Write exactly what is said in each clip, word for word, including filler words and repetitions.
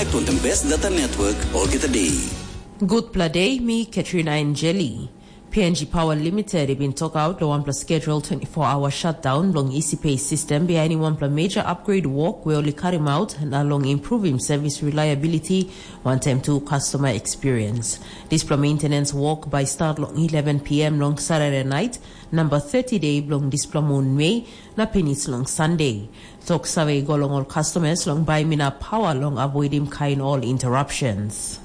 Connect on the best data network olgeta day. Gutpela day, mi Katrina Angeli. P N G Power Limited i bin tokaut long wanpela schedule twenty-four hour shutdown bilong E C P system behind wanpela major upgrade work we ol i karim out na long improving service reliability wantaim tu customer experience. Dispela maintenance work by start long eleven p m long Saturday night, number thirty day bilong dispela moon Mei, na pinis long Sunday. Tok save i go long ol customers long baim inap pawa long avoidim kain ol interruptions.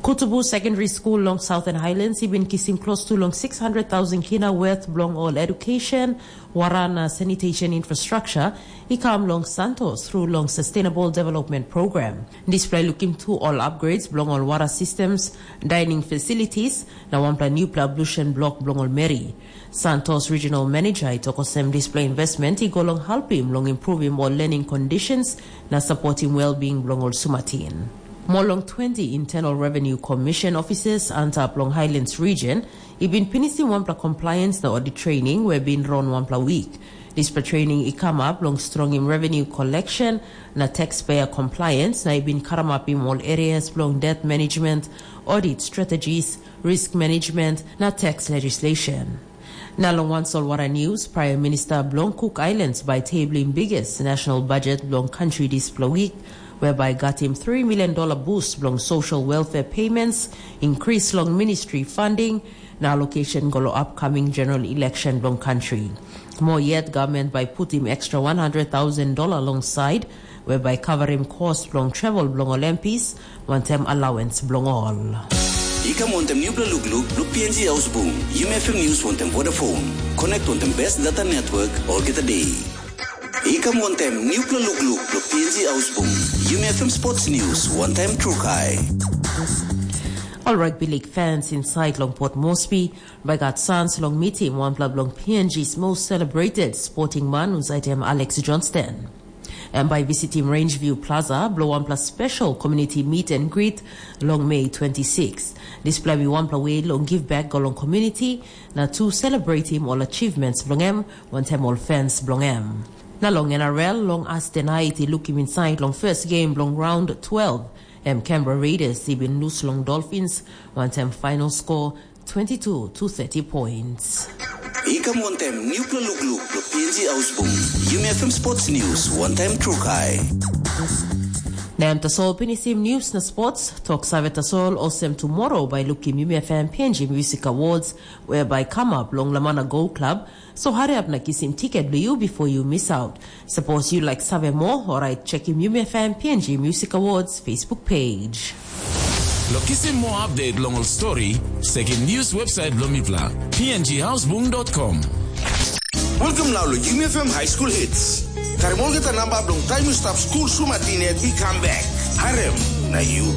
Kutubu Secondary School long Southern Highlands i bin kisim close to long six hundred thousand kina worth bilong ol education, wara na sanitation infrastructure i kam long Santos through long Sustainable Development Program. Dispela i lukim tu ol upgrades bilong ol wara systems, dining facilities, na wanpela newpela ablution block bilong ol meri. Santos Regional Manager i tok olsem dispela investment i go long helpim long improvim ol learning conditions na supportim well-being bilong ol sumatin. More long twenty Internal Revenue Commission officers antap long Highlands region i bin pinisim wanpela compliance na audit training we bin run wanpela week. Dispela training i come up long strongim revenue collection na taxpayer compliance na i bin karamapim ol areas bilong debt management, audit strategies, risk management, na tax legislation. Na long wan solwara news, Prime Minister bilong Cook Islands bai tabling biggest national budget bilong country dispela week, whereby got him three million dollar boost bilong social welfare payments, increase long ministry funding, na allocation go long upcoming general election bilong country. More yet, government bai put him extra one hundred thousand dollar alongside whereby covering cost bilong travel bilong ol M Ps, wantaim allowance bilong ol. I kam wantaim newpela lukluk bilong P N G Ausbung, Yumi F M News wantaim Vodafone. Connect wantaim best data network olgeta day. I kam wantaim newpela lukluk bilong P N G Ausbung, Yumi F M Sports News wantaim Trukai. Ol rugby league fans inside long Port Moresby bai gat sans long mitim wanpela bilong P N G's most celebrated sporting man, husat em Alex Johnston. Em bai visitim Rangeview Plaza bilong wanpela special community meet and greet long Mei twenty-six. Dispela bai wanpela we long give back go long community na tu celebratim ol achievements bilong em wantaim ol fans bilong em. Na long N R L, long as tonight i lukim inside long first game bilong round twelve, em Canberra Raiders i bin lus long Dolphins wantaim final score twenty-two to thirty points. I kam wantaim newpela lukluk bilong P N G Ausbung, Yumi F M Sports News wantaim Trukai. Na em tasol pinisim news na sports, tok save tasol olsem tomorrow bai lukim Yumi F M P N G Music Awards, whereby come up long Lamana Go Club, so hurry up na kisim tiket bilong yu before you miss out. Suppose you like save more, alright, check him Yumi F M P N G Music Awards Facebook page. Lo kisim more update long ol story, sekim news website bilong mipela, P N G houseboom dot com. Welcome now lo Yumi F M High School Hits. Karim olgeta namba bilong taim yu stap skul sumatin yet i kam bek. Harem, na yu